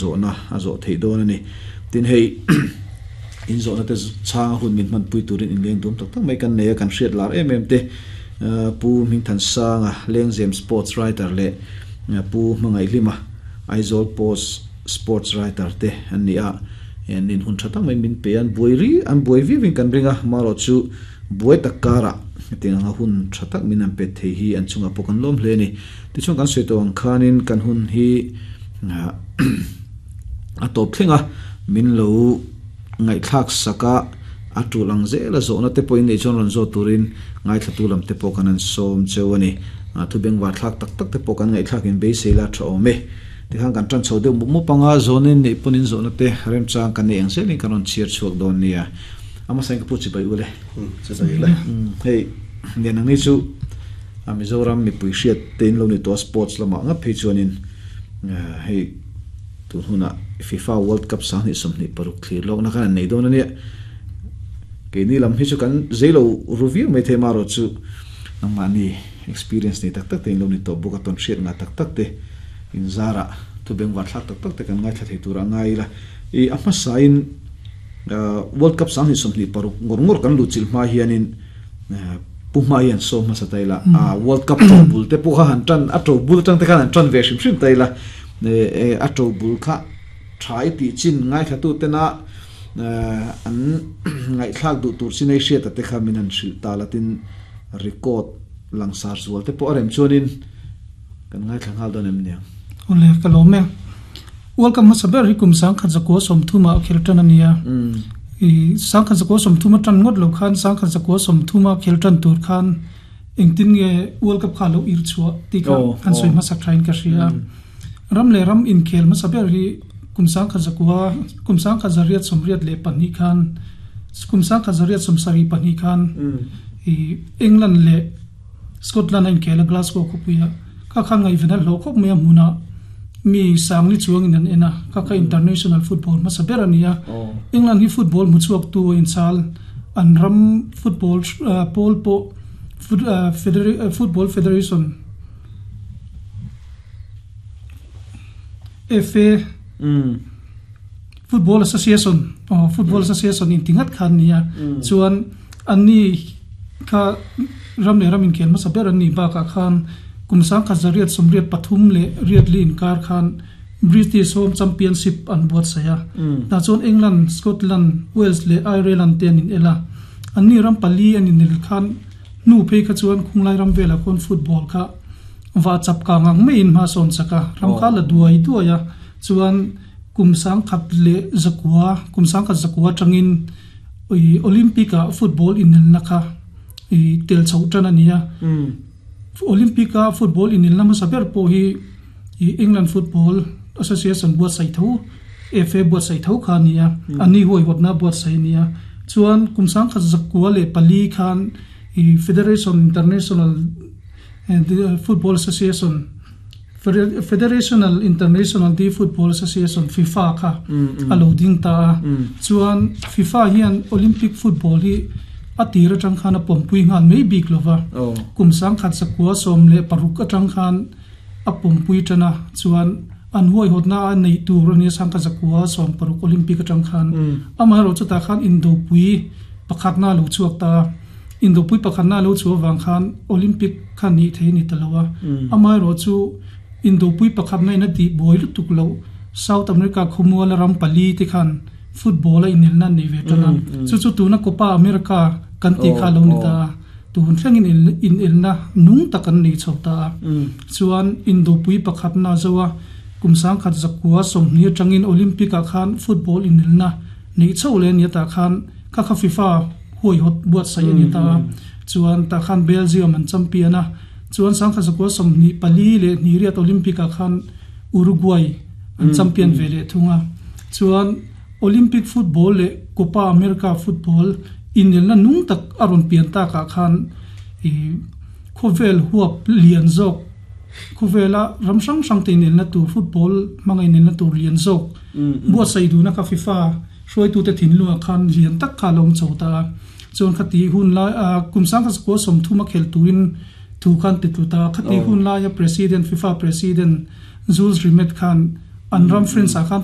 Zawhna a zawh theih dawn a ni. Tin hei in zawhna te chhanga hun min hmanpui turin inleng duam tak tak mai kan nei a, kan hriat lar em em te Pu Hmingthansanga, Lengzem Sports Writer leh Pu Hmangaihhlima, Aizawl Post Sports Writer te an ni a, an in hun tha tak mai min pe a, an buai ri an buai viau in kan ring a, marawh chu buai tak karah hetiang anga hun tha tak min an pet thei hi an chungah pawh kan lawm hle a ni. Tichuan kan sawi tawh ang khanin kan hun hi a tawp thleng a, min lo ngaihthlak sak a, a tul ang zel a zawhna te pawhin neih chuan rawn zawt turin ngaithlatu lam te pawh kan han sawm cheu a ni. Thu bengvar thlak tak tak te pawh kan ngaihthlak in beisei la tha awm e. Tikhan kan tan chho deuh mup mup ang a, zawhna in neih pawn in zawhna te remchang kan nei ang zelin kan rawn chhiar chhuak dawn nia. A hmasa in ka pu chibai ule. Chibai ule. Hei, Lian ang ni chu. A Mizoram mipui hriat te in lo ni tawh a sports lamah ngap phei chuanin hei tun hunah FIFA World Cup 2026 thlir lawkna khan an nei dawn a nia. Keini lam hi chu kan zei lo ru viau mai thei marawh chu nangmahni experience nei tak tak te in lo ni tawh bawk a tawn hriat ngah tak tak te in zarah thu bengvar thlak tak tak te kan ngaithla thei turah ngai ila. I a hmasain World Cup 2026 ngawr ngawr kan luhchilh hma hianin Pu Hma hian sawm hmasa ta ila, a World Cup to bul te pawh kha han tan, a to bul atang te khan han tan ve hrim hrim ta ila, a to bul kha tha i tih chin ngaithlatu tena an ngaihthlak duh tur chin ei hriata te kha min han hrilh ta la tin record langsar zual te pawh a rem chuanin kan ngaithla nghal dawn em niang. Awle, ka lawm e. World Cup hmasa ber hi kum 1930 ah khel tan a ni a. I 1930 a tan ngawt lo khan 1930 a khel tan tur khan engtin nge World Cup kha a lo ir chhuah tih kha han sawi hmasak thain ka hria a. Ram leh ram inkhel hmasa ber hi kum 19 kum 1982 khan kum 1972 khan i England leh Scotland a inkhel a Glasgow khawpuia kha khan ngaihven a hlawh khawp mai a hmunah mi sangli chuangin an en a, kha kha international football hmasa ber a ni a. England hi football hmu chhuaktu a inchal, an ram football pawl pawh Football Federation, FA, Football Association, aw Football Association inti ngat kha an ni a, chuan anni kha ram leh ram inkhel hmasa ber an nih bakah khan kum 1983 leh riatli inkar khan British Home Championship an buatsaih a, tah chuan England, Scotland, Wales leh Ireland te an inel a, anni ram pali an inel khan hnu phei kha chuan khunglai ram velah khawn football kha vah chap kang ang maiin hma sawn chak a, ram kha la duai duai a, chuan. Kum 1909, kum 1909 atangin i Olympic ah football inelna kha i tel chhoh tan a ni a. Olympic a football inelna hmasa ber pawh hi i England Football Association buatsaih tho, FA buatsaih tho kha a ni a. An ni huaihawtna buatsaih a ni a. Chuan kum 1904 khan i Federation International Football Association, Federational International de Football Association, FIFA, kha a lo ding ta a. Chuan FIFA hian Olympic football hi a tir atang khan a pawmpui nghal mai bik lo va. Kum 1916 atang khan a pawmpui tan a, chuan an huaihawtna a neih tur a nia 1960 Olympic atang khan. Amaherawh chutah khan indopui pakhatna a lo chhuak ta a. Indopui pakhatna a lo chhuah avang khan Olympic kha nih thei a ni ta lo a. Amaherawhchu Indopui pakhatna in a tih buai lutuk loh South America khawmuala ram pali te khan football a inelna an nei ve tan a. Chu chu tuna Copa America kan tih kha a lo ni ta a. Tun thlengin inelna nung tak an nei chho ta a. Chuan Indopui pakhatna a zo a, kum 1920 atangin Olympic ah khan football inelna neih chho leh a ni a tah khan kha kha FIFA huaihawt buatsaih a ni ta a, chuan tah khan Belgium an champion a, chuan 1924 leh Hnihriat Olympic ah khan Uruguay an champion ve leh thung a, chuan Olympic football leh Copa America football inelna nung tak a rawn pian tak ah khan ih khawvel huap lian zawk khawvela ram hrang hrang te inelna tur football hmanga inelna tur lian zawk buatsaih duhna kha FIFA Hruaitute thinlungah khan lian tak kha a lo awm chho ta a, chuan khati hun lai a kum 1930 a khelh turin thu khan ti tlu ta a, khati hun laia President, FIFA President Jules Rimet khan An ram France ah khan.